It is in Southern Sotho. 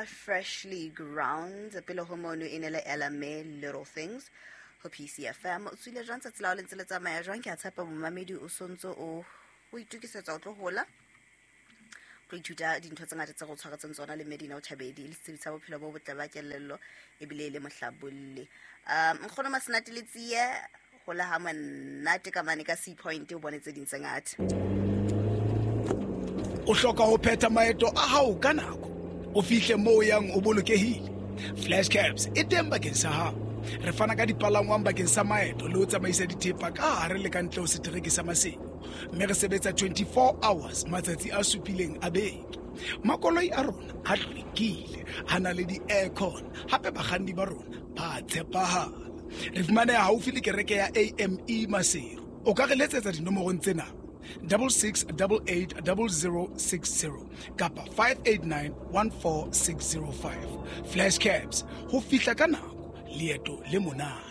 Freshly Ground. Pele ho mono e ne le Ella May, Little Things, ho PCFM. O tswile jwang tsatsi la hao le ntse le tsamaya jwang? Ke a tshepa momamedi o sontso o itokisetsa o tlo hola, tlo ithuta dintho tse ngata tse go tshwaretseng tsona le Medina o Thabedi, le setsebi sa bophelo bo botle ba kelello ebile e le mohlabolli. Nkgono Masenate le tsie hola ha monate ka mane ka Sea Point, o bone tse ding tse ngata. O hloka ho phetha maeto a hao ka nako, o fihle moo o yang o bolokehile. Flash Cabs e teng bakeng sa hao. Re fana ka dipalangwang bakeng sa maeto le ho tsamaisa dithepa ka hare le ka ntle ho setereke sa Maseru, mme re sebetsa 24 hours matsatsi a supileng a beke. Makoloi a rona a hlwekile, a na le di-aircon, hape bakganni ba rona ba tshepahala. Re fumaneha haufi le kereke ya AME Maseru. O ka re letsetsa dinomorong tsena: 66880060 kapa 58914605. Flash Cabs, ho fihla ka nako, leeto le monate.